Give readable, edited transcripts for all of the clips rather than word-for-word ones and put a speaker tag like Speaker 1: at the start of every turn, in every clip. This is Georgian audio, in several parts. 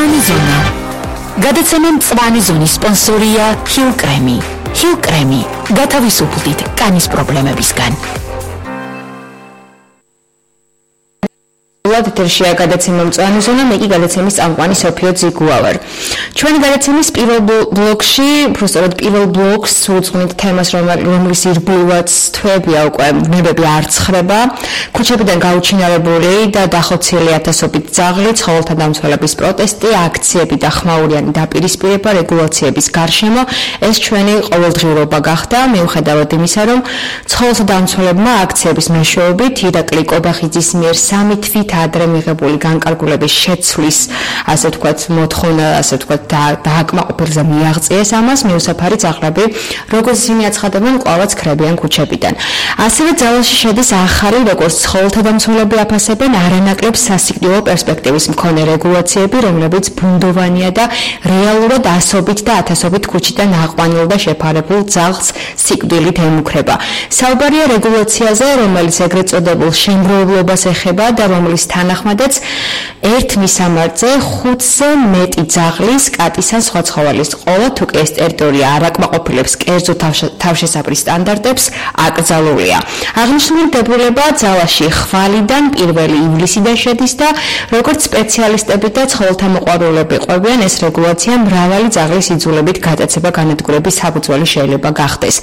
Speaker 1: მწვანე ზონა. გადაცემა მწვანე ზონის სპონსორია Hill Creme. Hill Creme. გათავისუფლდით კანის პრობლემებისგან.
Speaker 2: ეთერშია გადაცემა მწვანე ზონა, მე კი გადაცემის წამყვანი სოფიო ძიგუა ვარ. ჩვენი გადაცემის პირველ ბლოკში, უბრალოდ პირველ ბლოკს უძღვნით თემას, რომლის ირგვლივაც თვეებია უკვე ნებები არ ცხრება. ქუჩებიდან გაუჩინარებული და დახოცილი ათასობით ძაღლი, ცხოველთა დამცველების პროტესტი, აქციები და ხმაურიანი დაპირისპირება რეგულაციების გარშემო, ეს ჩვენი ყოველდღიურობა გახდა, მიუხედავად იმისა, რომ ცხოველთა დამცველებმა აქციების მეშვეობით ირაკლი კობახიძის მიერ 3 თვით ადრე მიღებული განკარგულების შეცვლის, ასე ვთქვათ, მოთხოვნა, ასე ვთქვათ, დააკმაყოფილება მიაღწიეს ამას, მიუსაფარი ძაღლები, როგორც ისინი აცხადებენ, კვლავაც ქრებიან ქუჩებიდან. ასევე ძალაში შედის ახალი, როგორც ცხოველთა დამცველები აფასებენ, არანაკლებ სასიკვდილო პერსპექტივის მქონე რეგულაციები, რომლებიც ბუნდოვანია და რეალურად ასობით და ათასობით ქუჩიდან აყვანილ და შეფარებულ ძაღლს სიკვდილით ემუქრება. საუბარია რეგულაციაზე, რომელიც ეგრეთ წოდებულ შემგროვებლობას ეხება და რომლის თანახმადაც ერთ მისამართზე 5-ზე მეტი ძაღლის, კატის ან სხვა ცხოველის ყოლა, თუ კი ეს ტერიტორია არ აკმაყოფილებს კერძო თავშესაფრის სტანდარტებს, აკრძალულია. აღნიშნული დებულება ძალაში ხვალიდან 1 ივლისიდან შედის და როგორც სპეციალისტები და ცხოველთა მოყვარულები ყვებიან, ეს რეგულაცია მრავალი ძაღლის იძულებით გადაცემა განადგურების საფუძველი შეიძლება გახდეს.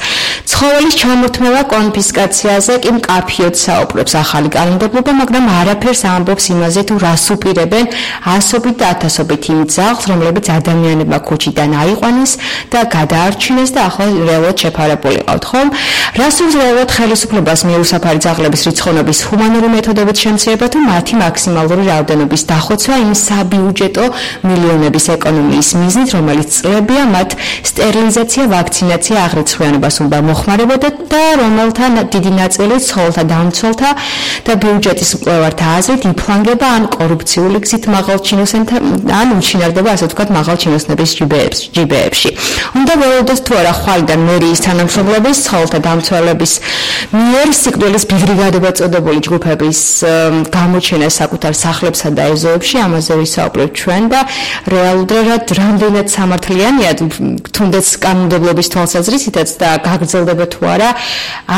Speaker 2: ცხოველის ჩამორთმევა კონფისკაციაზე კი მკაფიოდ საუბრობს ახალი კანონმდებლობა, მაგრამ არაფერს ამბობს იმაზე, თუ რას უპირებენ ასობით და ათასობით იმ ძაღლს, რომლებიც ადამიანებმა ქუჩიდან აიყვანეს და გადაარჩინეს და ახლა რეალურად შეფარებული ყავთ, ხომ? რას უძლევთ ხელისუფლებას მიუსაფარი ძაღლების რიცხოვნობის ჰუმანური მეთოდებით შემცირება თუ მათი მაქსიმალური რაოდენობის დახოცვა იმ საბიუჯეტო მილიონების ეკონომიის მიზნით, რომელიც წლებია მათ სტერილიზაცია, ვაქცინაცია, აღრიცხვიანობას უნდა მოხმარებოდა და რომელთა დიდი ნაწილი ცხოველთა დამცველთა და ბიუჯეტის მკვლევართა აზრით იფლანგება ან კორუფციული გზით მაღალ ჩინოსნებთან ან უჩინარდება, ასე ვთქვათ, მაღალ ჩინოსნების ჯიბეებში. უნდა ველოდოთ თუ არა ხვალიდან მერიის თანამშრომლობის, ცხოველთა დამცველების მიერ სიკვდილის ბრიგადება წოდებული ჯგუფების გამოჩენა საკუთარ სახლებსა და ეზოებში, ამაზე ვისაუბრებთ ჩვენ და რეალურად რამდენად სამართლიანია, თუნდაც კანონმდებლობის თვალსაზრისითაც და გაგრძელდება თუ არა,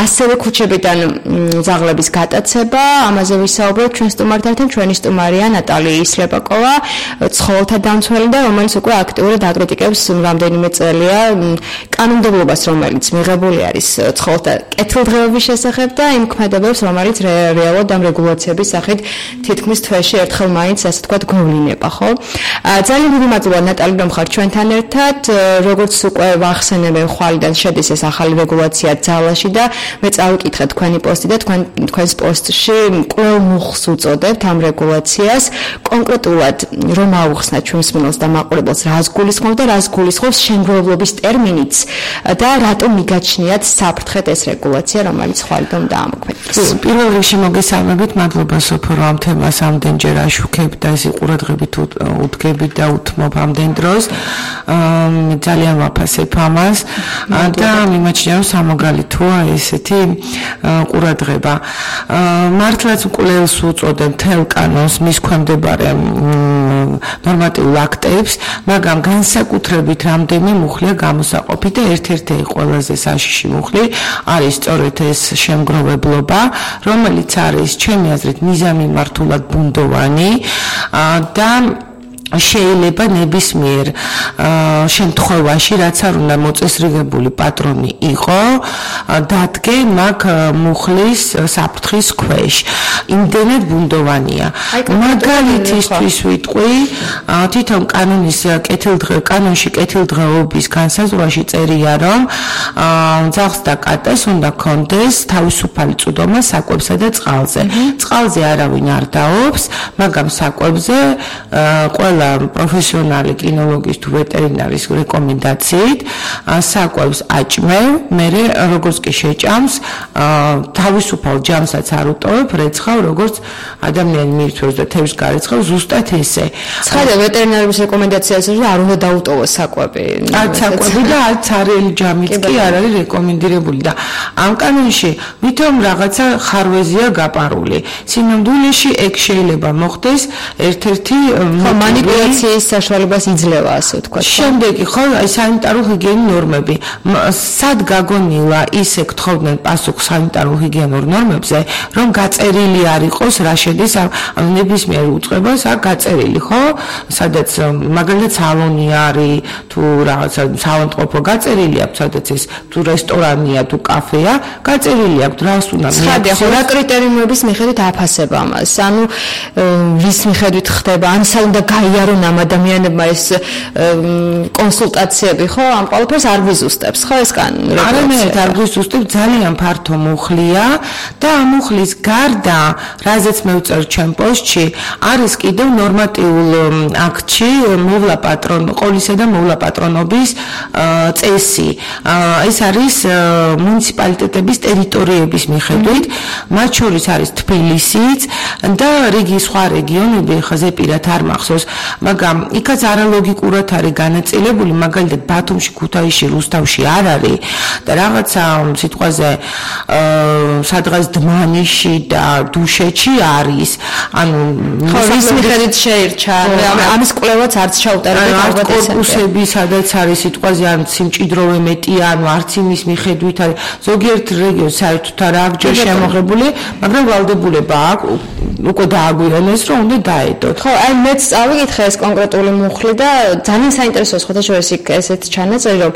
Speaker 2: ასევე ქუჩებიდან ძაღლების გატაცება, ამაზე ვისაუბრებთ ჩვენ სტუმართან, ჩვენი სტუმარია ნატალი ისლეპაკოვა, ცხოველთა დამცველი და რომელიც უკვე აქტიურად აკრიტიკებს რამდენიმე წელია კანონმდებლობას, რომელიც მიღებული არის ცხოველთა კეთილდღეობის შესახებ და იმ ქმედებებს, რომელიც რეალურად ამ რეგულაციების სახით თითქმის თვეში ერთხელ მაინც, ასე ვთქვათ, გვევლინება, ხო? ძალიან დიდი მადლობა ნატალი, რომ ხარ ჩვენთან ერთად. როგორც უკვე ვახსენებენ, ხვალიდან შედის ეს ახალი რეგულაცია ძალაში და მე წავიკითხე თქვენი პოსტი და თქვენს პოსტში კვლავ მუხს უწოდებთ ამ რეგულაციას. კონკრეტულად რომ აუხსნათ ჩვენს მსმენელს და მაყურებელს, რას გულისხმობს და რას გულისხმობს შემგროვებლობის ტერმინიც და რატომ მიგაჩნიათ საფრთხეთ ეს რეგულაცია, რომელიც ხვალიდან დაამოქმედდეს.
Speaker 3: პირველ რიგში მოგესალმებით, მადლობა სოფო, რომ ამ თემას ამდენჯერ აშუქებთ და ეს ყურადღებით უდგებით და უთმობ ამდენ დროს. ძალიან ვაფასებ ამას და მიმაჩნია, რომ სამოგალითოა ესეთი ყურადღება. მართლაც კვლევს უწოდებ თელ კანონს, მის ქვემდებარე ნორმატიულ აქტებს, მაგრამ განსაკუთრებით რამდენი მუხლია გამოსაყოფი და ერთ-ერთი ყველაზე საშიში მუხლი არის სწორედ ეს შემგროვებლობა, რომელიც არის ჩემი აზრით მიზანმიმართულად ბუნდოვანი და შეიძლება ნებისმიერ შემთხვევაში, რაც არ უნდა მოწესრიგებული პატრონი იყო, დადგე მაგ მუხლის საფრთხის ქვეშ. იმდენად ბუნდოვანია. მაგალითისთვის ვიტყვი, თვითონ კანონში კეთილდღეობის განსაზღვრაში წერია, რომ ძაღლს და კატას უნდა კონდეს თავისუფალი წვდომა საკვებსა და წყალზე. წყალზე არავინ არ დაობს, მაგრამ საკვებზე ყველა პროფესიონალი კინოლოგის თუ ვეტერინარის რეკომენდაციით საკვებს აჭმევ, მერე როგორც კი შეჭამს, თავისუფალ ჯამსაც არ უტოვებ, რეცხავ, როგორც ადამიანი მიირთვევს და თევზს გარეცხავს, ზუსტად ესე.
Speaker 2: ცხადა ვეტერინარის რეკომენდაციას არ უნდა დაუტოვოს საკვები.
Speaker 3: არც საკვები და არც არელი ჯამიც კი არ არის რეკომენდირებული და ამ კანონში ვითომ რაღაცა ხარვეზია გაპარული. სინამდვილეში ეგ შეიძლება მოხდეს ერთ-ერთი
Speaker 2: მანიპულაციის საშუალებას იძლევა, ასე ვთქვათ.
Speaker 3: შემდეგი ხო, აი სანიტარო-ჰიგიენური ნორმები. სად გაგონილა ისე გთხოვდნენ პასუხს სანიტარო-ჰიგიენურ ნორმებზე, რომ გაწერილი არ იყოს რა შედის ამ ნებისმიერ უწყებას, აქ გაწერილი, ხო? სადაც მაგალითად სალონი არის, თუ რაღაცა საავადმყოფო გაწერილი აქვს, სადაც ეს თუ რესტორანია, თუ კაფეა, გაწერილი აქვს, რას უნდა
Speaker 2: მიიღოს. ხო, რა კრიტერიუმების მიხედვით აფასება ამას? ანუ ვის მიხედვით ხდება? ან უნდა გაიარონ ამ ადამიანებმა ეს კონსულტაციები, ხო? ამ ყველაფერს არ ვიზუსტებს, ხო ეს კანონი?
Speaker 3: არანაირად არ ვიზუსტებ, ძალიან ფართო მუხლია და ამ მუხლის გარდა, რაზეც მე ვწერ ჩემ პოსტში, არის კიდევ ნორმატიულ აქტში მოვლა ყოლისა და მოვლა პატრონობის წესი. ეს არის მუნიციპალიტეტების ტერიტორიების მიხედვით, მათ შორის არის თბილისიც და რიგი სხვა რეგიონები, ხაზე პირად არ მახსოვს, მაგრამ იქაც არალოგიკურად არის განაწილებული, მაგალითად ბათუმში, ქუთაისში, რუსთავში არ არის და რაღაცა სიტყვაზე სადღაც დმანისში და დუშეთში არის. ანუ
Speaker 2: რის მიხედვით შეირჩა? ამის კვლევაც არც ჩაუტარებთ ალბათ ეს.
Speaker 3: კორპუსები სადაც არის სიტყვაზე ან სიმჭიდროვე მეტია, ანუ არც იმის მიხედვით არის. ზოგიერთ რეგიონს საერთოდ არ აქვს ჯერ შემოღებული, მაგრამ ვალდებულება აქვს უკვე დააგვიანეს, რომ უნდა დაედოთ.
Speaker 2: ხო, აი მეც წავიკითხე ეს კონკრეტული მუხლი და ძალიან საინტერესოა სხვადასხვა ესეთ ჩანაწერი, რომ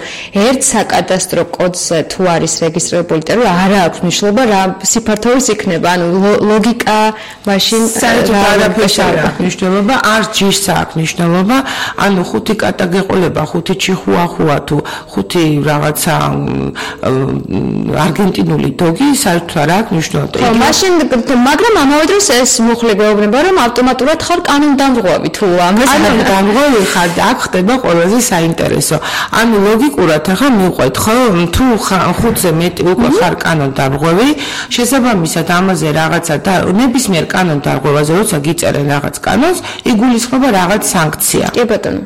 Speaker 2: ერთ საკადასტრო კოდზე თუ არის რეგისტრირებული ტერიტორია, არ აქვს მნიშვნელობა რა სიფართოვის იქნება, ანუ ლოგიკა მაშინ
Speaker 3: საერთოდ არაფერს არ აქვს მნიშვნელობა, არც ჯიშს აქვს მნიშვნელობა, ანუ 5 კატა გეყოლება, 5 ჩიხუახუა თუ 5 რაღაცა არგენტინული დოგი საერთოდ არ აქვს მნიშვნელობა.
Speaker 2: ხო, მაშინ მაგრამ ამავე დროს ეს მუხლი გვეუბნება, რომ ავტომატურად ხარ კანონდამრღვევი თუ ამას
Speaker 3: კანონდამრღვევი ხარ და აქ ხდება ყველაზე საინტერესო. ანუ ლოგიკურად ახლა მივყვეთ, ხო, თუ 5-ზე მეტი უკვე ხარ კანონდამრღვევი, შესაბამისად ამაზე რაღაცა და ნებისმიერ კანონდამრღვევაზე როცა გიწერენ რაღაც კანონს, იგულისხმება რაღაც სანქცია.
Speaker 2: კი ბატონო.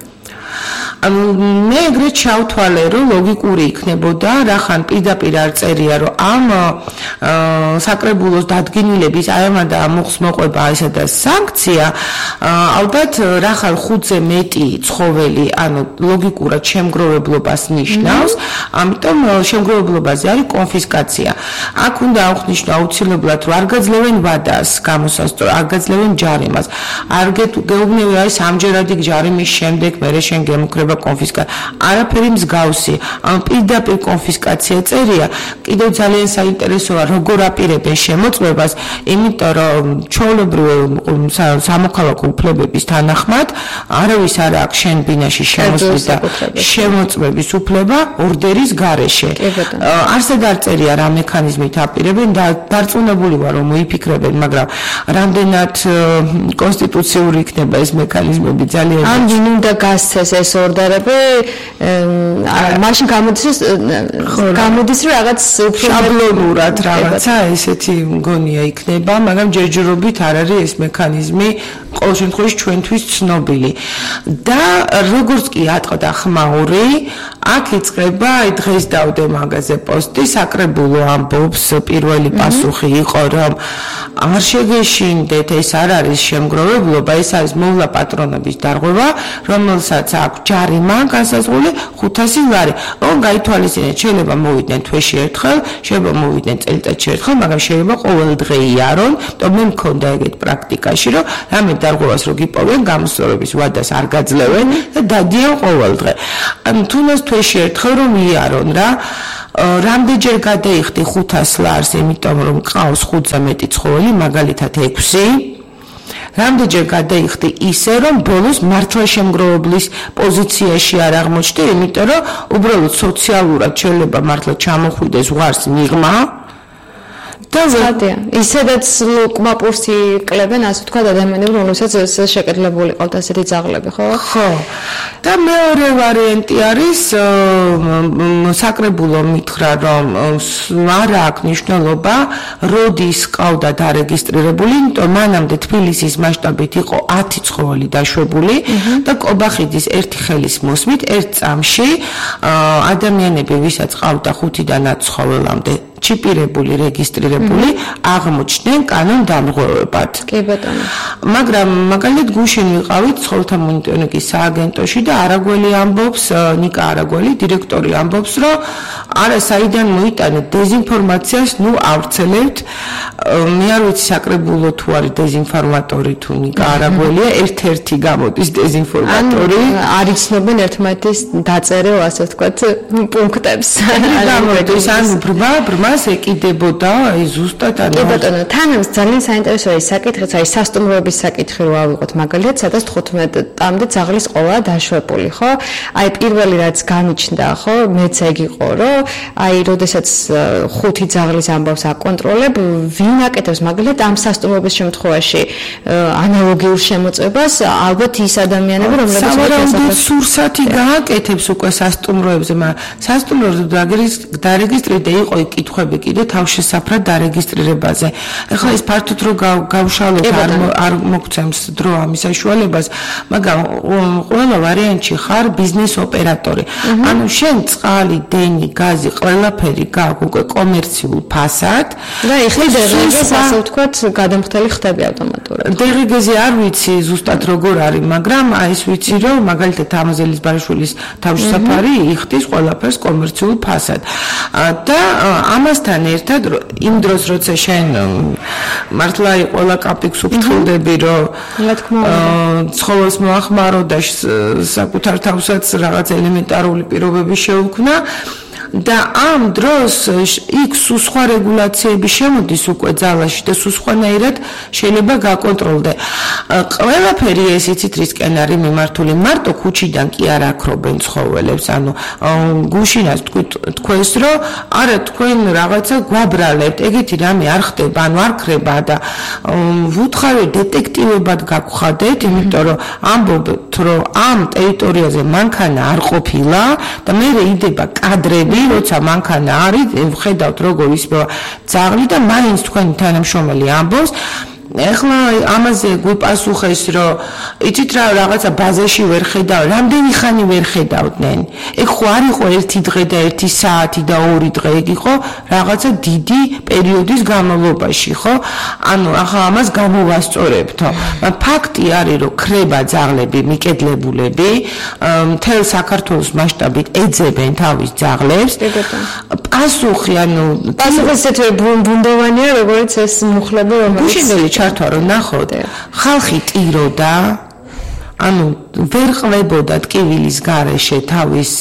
Speaker 3: მე ეგრეთ ჩავთვალე, რომ ლოგიკური იქნებოდა, რახან პირდაპირ არ წერია, რომ ამ საკრებულოს დადგენილების აი ამ და მუხს მოყვება ესა და სანქცია, ალბათ რახან 5-ზე მეტი ცხოველი, ანუ ლოგიკურად შემგროვებლობას ნიშნავს, ამიტომ შემგროვებლობაზე არის კონფისკაცია. აქ უნდა აღნიშნო აუცილებლად, რომ არ გაძლევენ ვადას გამოსასწორო, არ გაძლევენ ჯარიმას. არ გეუბნები არის ამჯერადი ჯარიმის შემდეგ მერე შენ გემუქრება კონფისკაცია. არაფერი მსგავსი. ამ პირდაპირ კონფისკაცია წერია. კიდევ ძალიან საინტერესოა, როგორ აპირებენ შემოწმებას, იმიტომ რომ ჩვეულებრივ სამოქალაქო უფლებების თანახმად არავის არ აქვს შენ ბინაში შემოსვლის და შემოწმების უფლება ორდერის გარეშე. არსად არ წერია რა მექანიზმით აპირებენ და დარწმუნებული ვარ, რომ მოიფიქრებენ, მაგრამ რამდენად კონსტიტუციური იქნება ეს მექანიზმები ძალიან
Speaker 2: ან ვინ უნდა გასცეს ეს ორდერები, მაშინ გამოდის რომ რაღაც უფრო
Speaker 3: შაბლონურად რაღაცა ესეთი მგონია იქნება, მაგრამ ჯერჯერობით არ არის ეს მექანიზმი ყოველ შემთხვევაში ჩვენთვის ცნობილი. და როგორც კი ატყდა ხმაური, აქ იწყება, აი დღეს დავდე მაგაზე პოსტი, საკრებულო ამბობს, პირველი პასუხი იყო, რომ არ შეგეშინდეთ, ეს არ არის შემგროვებლობა, ეს არის მოვლა პატრონობის დარღვევა, რომელსაც აქვს ჯარიმა განსაზღვრული 500 ლარი. გაითვალისწინეთ, შეიძლება მოვიდნენ თვეში ერთხელ, შეიძლება მოვიდნენ წელიწადში ერთხელ, მაგრამ შეიძლება ყოველდღე იარონ, თუმცა მე მქონდა ეგეთ პრაქტიკაში, რომ რამე დარღვევას რო გიპოვენ, გამოსწორების ვადას არ გაძლევენ და დადიან ყოველდღე. ანუ თუნდაც თვეში ერთხელ რომ იარონ რა. რამდენჯერ გადაიხდი 500 ლარს, იმიტომ რომ ყავს 5-ზე მეტი ცხოველი, მაგალითად 6. რამდენჯერ გადაიხდი ისე, რომ ბოლოს მართლა შემგროვებლის პოზიციაში არ აღმოჩნდი, იმიტომ რომ უბრალოდ სოციალურად შეიძლება მართლა ჩამოხვიდეს ზღვარს მიღმა. და
Speaker 2: ისედაც ლუკმაპურს იკლებენ, ასე ვთქვათ, ადამიანები, რომელსაც შეკეთლებული ყავთ ასეთი ძაღლები, ხო?
Speaker 3: ხო. და მეორე ვარიანტი არის საკრებულო მითხრა, რომ არ აქვს მნიშვნელობა, როდის ყავდა დარეგისტრირებული, იმიტომ მანამდე თბილისის მასშტაბით იყო 10 ცხოველი დაშვებული და კობახიძის ერთი ხელის მოსმით ერთ წამში ადამიანები, ვისაც ყავდა 5-დან 10 ცხოველამდე ჩიპირებული, რეგისტრირებული აღმოჩნდნენ კანონდამღვევებად.
Speaker 2: კი ბატონო.
Speaker 3: მაგრამ მაგალითად გუშინ ვიყავით ცხოველთა მონიტორინგის სააგენტოში და არაგველი ამბობს, ნიკა არაგველი, დირექტორი ამბობს, რომ არა საიდან მოიტანეთ დეზინფორმაციას, ნუ ავრცელებთ. მე არ ვიცი საკრებულო თუ არის დეზინფორმატორი თუ ნიკა არაგველია, ერთ-ერთი გამოდის დეზინფორმატორი.
Speaker 2: არ იცნობენ ერთმანეთის დაწერილ, ასე ვთქვათ, პუნქტებს.
Speaker 3: გამოდის, ანუ ბრმას ეკიდებოდა, აი ზუსტად ანუ.
Speaker 2: კი ბატონო, თან ძალიან საინტერესოა ის საკითხიც, აი სასტუმროების საკითხი რო ავიღოთ, მაგალითად, სადაც 15-მდე ძაღლის ყოლა დაშვებული, ხო? აი პირველი რაც გამიჩნდა, ხო, მეც ეგ იყო, რომ აი როდესაც 5 ძაღლის ამბავს აკონტროლებ, ვინ აკეთებს მაგალითად ამ სასტუმროების შემთხვევაში ანალოგიურ შემოწმებას, ალბათ ის ადამიანები, რომლებიც
Speaker 3: სავარაუდოდ სურსათი გააკეთებს უკვე სასტუმროებზე, მაგრამ სასტუმროზე დარეგისტრირდა იყო კითხვები კიდე თავშესაფრად დარეგისტრირებაზე. ეხლა ეს ფართოდ რო გავშალოთ არ მოგცემს დრო ამის საშუალებას, მაგრამ ყველა ვარიანტში ხარ ბიზნეს ოპერატორი. ანუ შენ წყალი, დენი, გაზი, ყველაფერი გაქვს უკვე კომერციულ ფასად
Speaker 2: და ეხლა დერეგეს ასე ვთქვათ, გადამხდელი ხდები ავტომატურად.
Speaker 3: დერეგეზე არ ვიცი ზუსტად როგორ არის, მაგრამ აი ეს ვიცი რომ მაგალითად ამაზელის ბარიშვილის თავშესაფარი იხდის ყველაფერს კომერციულ ფასად. და ამასთან ერთად იმ დროს როცა შენ მართლა ყველა კაპიკს უფრთხილდები რომ ცხოველს მოახმარო და საკუთარ თავსაც რაღაც ელემენტარული პირობები შეუქმნა და ამ დროს იქ სხვა რეგულაციები შემოდის უკვე ძალაში და სხვანაირად შეიძლება გაკონტროლდე. ყველაფერი ეს იცით რისკენ არის მიმართული, მარტო ქუჩიდან კი არ აქრობენ ცხოველებს, ანუ გუშინას თქვენს რომ არა თქვენ რაღაცა გვაბრალებთ, ეგეთი რამე არ ხდება, ანუ არ ქრება და ვუთხარი დეტექტივებად გაგხადეთ, იმიტომ რომ ამბობთ რომ ამ ტერიტორიაზე მანქანა არ ყოფილა და მე იდება კადრები როცა მანქანა არის, ვხედავთ როგორ ისმევა ძაღლი და მაინც თქვენი თანამშრომელი ამბობს, ეხლა ამაზე გვიპასუხეს, რომ იცით რა რაღაცა ბაზაში ვერ ხედავ, რამდენი ხანი ვერ ხედავდნენ. ეგ ხო არ იყო ერთი დღე და ერთი საათი და 2 დღე, ეგ იყო რაღაცა დიდი პერიოდის განმავლობაში, ხო? ანუ ახლა ამას გამოვასწორებთ. ფაქტი არის, რომ ქრება ძაღლები, მიკედლებულები, მთელ საქართველოს მასშტაბით ეძებენ თავის ძაღლებს. პასუხი, ანუ
Speaker 2: პასუხი ისეთი ბუნდოვანია, როგორც ეს მუხლები, რომელიც
Speaker 3: ჩართვა რომ ნახოთ, ხალხი ტიროდა, ანუ ვერ ყვებოდა ტკივილის გარეშე თავის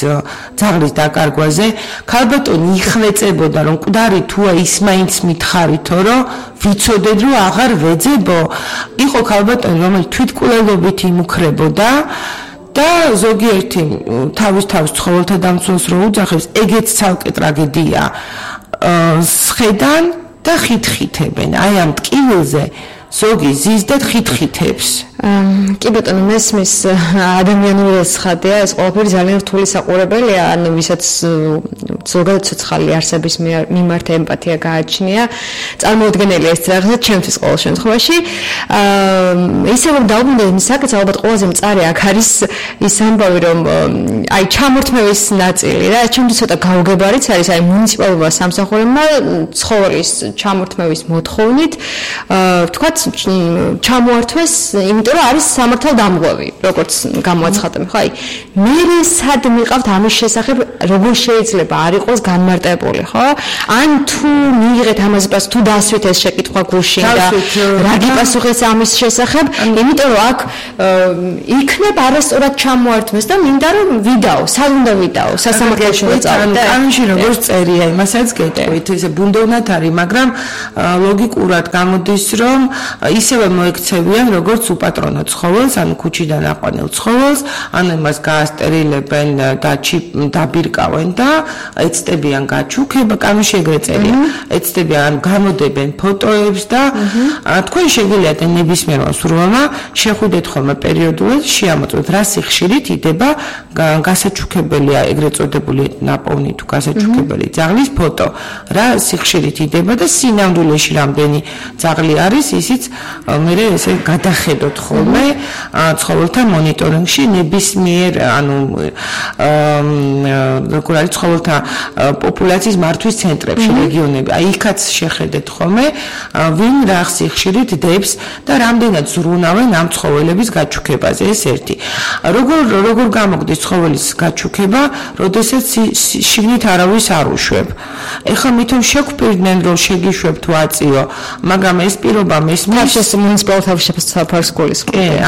Speaker 3: ძაღლის დაკარგვაზე, ქალბატონი იხვეწებოდა რომ მკვდარი თუა ის მაინც მითხარითო რომ ვიცოდეთ რომ აღარ ვეძებო, იყო ქალბატონი რომელიც თვითკვლელობით იმუქრებოდა და ზოგიერთი თავის ცხოველთა დამცველს რო უძახებს, ეგეც ცალკე ტრაგედია. სხედან და ხითხითებენ. აი ამ ტკივილზე ზოგი ზის და ხითხითებს.
Speaker 2: კი ბატონო, მესმის ადამიანური ცხადია, ეს ყველაფერი ძალიან რთული საყურებელია, ანუ ვისაც ზოგადად ცოცხალი არსების მიმართ ემპათია გააჩნია, წარმოუდგენელია ეს რაღაცა ჩემთვის ყოველ შემთხვევაში. ისე რომ დაუბრუნდეთ იმ საკითხს, ალბათ ყველაზე მწარე აქ არის ის ამბავი, რომ აი ჩამორთმევის ნაწილი რა, ჩემთვის ცოტა გაუგებარიც არის, აი მუნიციპალურმა სამსახურებმა ცხოველის ჩამორთმევის მოთხოვნით, ვთქვათ, ჩამოართვეს, იმიტომ რომ არის სამართალდამღვევი, როგორც გამოაცხადებ, ხო? აი, მე სად მიყავთ ამის შესახებ, როგორ შეიძლება არ იყოს განმარტებული, ხო? ან თუ მიიღეთ ამაზე პასუხი, თუ დასვით ეს შეკითხვა გუშინ და რა გიპასუხეს ამის შესახებ, იმიტომ რომ აქ იქნებ არასწორად ჩამოართვეს და მინდა რომ ვიდაო, სად უნდა ვიდაო, სასამართლოში ვიწავდე.
Speaker 3: კანონში როგორ წერია, იმასაც გეტყვით, ესე ბუნდოვნად არის, მაგრამ ლოგიკურად გამოდის, რომ ისევე მოექცევიან, როგორც უპატრონო ცხოველს, ანუ ქუჩიდან აყვანილ ცხოველს, ანუ იმას გაასტერილებენ და დაბირკავენ და ეცდებიან გაჩუქება, კანონში ეგრე წერია. ეცდებიან, გამოდებენ ფოტოებს და თქვენ შეგიძლიათ ნებისმიერმა სურვილმა შეხვიდეთ ხოლმე პერიოდულად, შეამოწმოთ რა სიხშირით იდება გასაჩუქებელია, ეგრეთ წოდებული ნაპოვნი თუ გასაჩუქებელი ძაღლის ფოტო, რა სიხშირით იდება და სინამდვილეში რამდენი ძაღლი არის, ისიც რომლებიც მე ესე გადახედოთ ხოლმე ცხოველთა მონიტორინგში ნებისმიერ როგორ არის ცხოველთა პოპულაციის მართვის ცენტრებში რეგიონები აი იქაც შეხედეთ ხოლმე ვინ რა ხშირით დებს და რამდენად ზრუნავენ ამ ცხოველების გაჩუქებაზე ეს ერთი როგორ გამოგდის ცხოველის გაჩუქება როდესაც შიგნით არავის არ უშვებ ეხლა მithom შეგვპირდნენ რომ შეგიშვებ თუ აწიო მაგრამ ეს პირობა მესმის
Speaker 2: მუნიციპალურ თავშეფარს სკოლის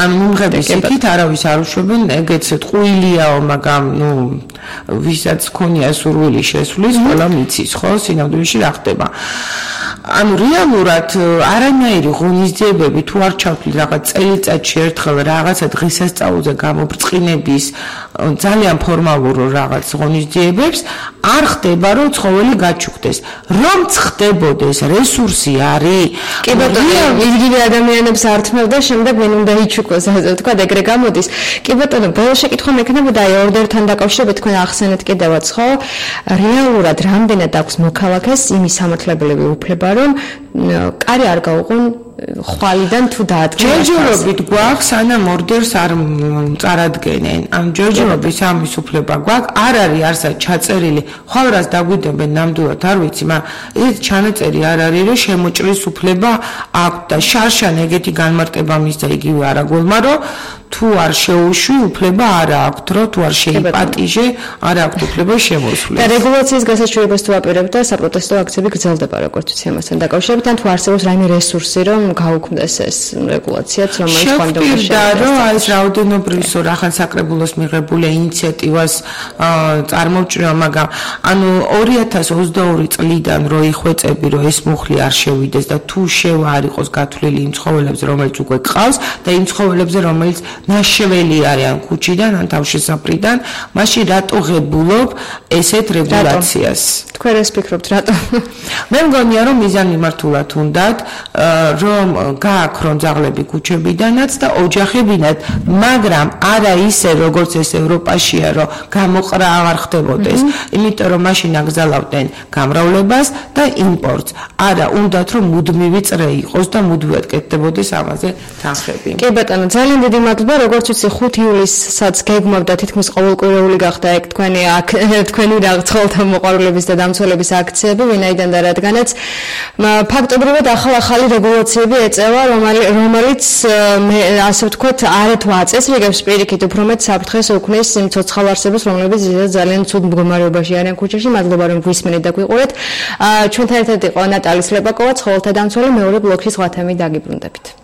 Speaker 3: ან მომღების იქით არავის არ უშვებენ ეგეც ტყუილიაო მაგრამ ვისაც ქონია სურვილი შესვლის ყველა მიცის ხო სინამდვილეში რა ხდება ანუ რეალურად არანაირი ღონისძიებები თუ არ ჩავთვლით რაღაც წელიწადში ერთხელ რაღაცა დღესასწაულზე გამობრწყინების ძალიან ფორმალურ რაღაც ღონისძიებებს არ ხდება რომ ცხოველი გაჩუქდეს რომ ხდებოდეს რესურსი არის
Speaker 2: კი ბატონო იგივე ადამიანებს ართმევ და შემდეგ მენ უნდა იჩუქოს ასე ვთქვა ეგრე გამოდის კი ბატონო ბოლო შეკითხვა მექნებოდა აი ორდერთან დაკავშირებით თქვენ ახსენეთ კიდევაც ხო რეალურად რამდენად აქვს მოქალაქეს იმის სამართლებელები უფლება რომ კარი არ გაუყონ ხვალიდან თუ დაადგენ
Speaker 3: ჯერჯერობით გვაქვს სანამ ორდერს არ წარადგენენ ამ ჯერჯერობის ამის უფლება გვაქვს არ არის არსად ჩაწერილი ხვალ დაგვიდებენ ნამდვილად არ ვიცი მაგრამ ეს ჩანაწერი არ არის რომ შემოჭრის უფლება აქვს და შარშან ეგეთი განმარტება მისცა იგივე არაგულმა რომ თუ არ შეუშვი უფლება არ აქვს რომ თუ არ შეიპატიჟე არ აქვს უფლება შემოსვლის
Speaker 2: და რეგულაციის გასაჩვენებას თუ აპირებთ და საპროტესტო აქციები გრძელდება როგორც ვიცი ამასთან დაკავშირებით ან თუ არსებობს რაიმე რესურსი რომ გაუქმდეს ეს რეგულაციაც რომელიც კონდომში
Speaker 3: რომ ეს რაოდენობრივი რახან საკრებულოს მიღებული ინიციატივას წარმოვჭრა მაგრამ ანუ 2022 წლიდან რო იხვეწები რომ ეს მუხლი არ შევიდეს და თუ შევა არ იყოს გათვლილი იმ ცხოველებზე რომელიც უკვე გყავს და იმ ცხოველებზე რომელიც ნაშეველი არიან ქუჩიდან ან თავშესაფრიდან მაშინ რატო ღებულობ ესეთ რეგულაციას
Speaker 2: თქვენ ეს ფიქრობთ რატო
Speaker 3: მე მგონია რომ მიზანმიმართულად უნდათ რომ გააქრონ ძაღლები ქუჩებიდანაც და ოჯახებინათ მაგრამ არა ისე როგორც ეს ევროპაშია რომ გამოყრა აღარ ხდებოდეს იმიტომ რომ მაშინ აკრძალავდნენ გამრავლებას და იმპორტს არა უნდათ რომ მუდმივი წრე იყოს და მუდმივად კეთდებოდეს ამაზე თანხები
Speaker 2: კი ბატონო ძალიან დიდი მადლობა როგორც ვიცი 5 ივლისსაც გეგმავდა თითქმის ყოველკვირეული გახდა ეგ თქვენი ცხოველთა მოყვარულების და დამცველების აქციები ვინაიდან და რადგანაც ფაქტობრივად ახალი რეგულაციები ეწევა რომელიც ასე ვთქვათ არათუ აწესრიგებს პირიქით უფრო მეტ საფრთხეს უქმნის იმ ცოცხალ არსებებს რომლებიც ძალიან ცუდ მდგომარეობაში არიან ქუჩაში მადლობა რომ გვისმენთ და გვიყურეთ ჩვენთან ერთად იყო ნატალი სლებაკოვა ცხოველთა დამცველი მეორე ბლოკში სხვა თემით დაგიბრუნდებით